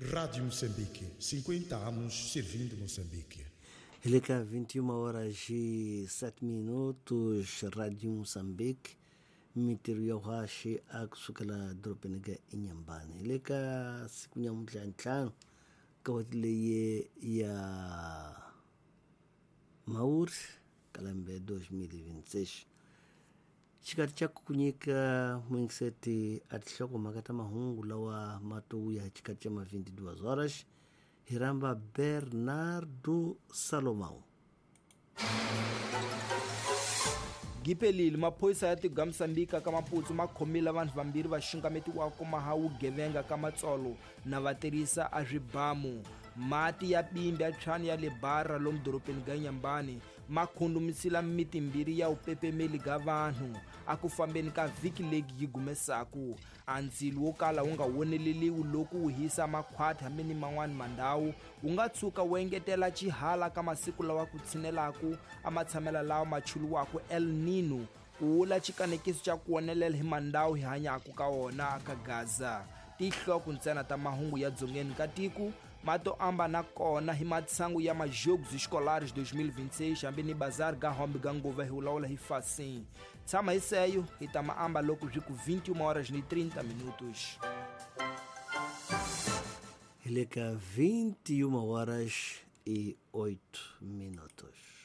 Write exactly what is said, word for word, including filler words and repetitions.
Rádio Moçambique, cinquenta anos servindo Moçambique. Ele cá vinte e uma horas e sete minutos, Rádio Moçambique, mintirho ya uhaxi a kusukela dorobeni ka Inhambane. Hi le ka siku nyamuntlha ntlhanu ka n'hweti leyi ya Mhawuri ka lembe dois mil e vinte e seis. Xikarhi xa ku nyika muyingiseti a tinhlokomhaka ta mahungu lawa ma to vuya hi xikhathi xa ma vinte e duas horas hi rhamba Bernardo Salomão. Gipelile maphorisa ya tiko Mozambique ka Maputo ma khomile vanhu vambirhi va xungametiwaka ku maha vugevenga ka matsolo na va tirhisa a swibamu. Mati ya bimbi ya tshwani ya le bara lomu dorobeni ga Inhambane ma khundumisile miti mbirhi ya vupepemeli ga vanhu a ku fambeni ka vhiki leyi yi gumesaku. A ndzilo wo kala wu nga woneleliwi loko wu hisa makhwati hambi ni man'wani mandhawu wu nga tshuka wu engetela xihala ka masiku lawa ku tshinelaku a matshamela lawa ma chuluwaku El Nino ku wula xikanekiso xa ku wonelela hi mandhawu hi hanyaku ka wona ka Gaza. Tinhloko ntsena ta mahungu ya dzongeni ka tiko ma to amba na kona hi matsangu ya majogos escolares dois mil e vinte e seis hambi ni bazar ga hombe ga ngova hi wulawula hi fasin. Tshama hi seyo hi ta ma amba loko byi ku vinte e uma horas e trinta minutos. Hi le ka vinte e uma horas e oito minutos.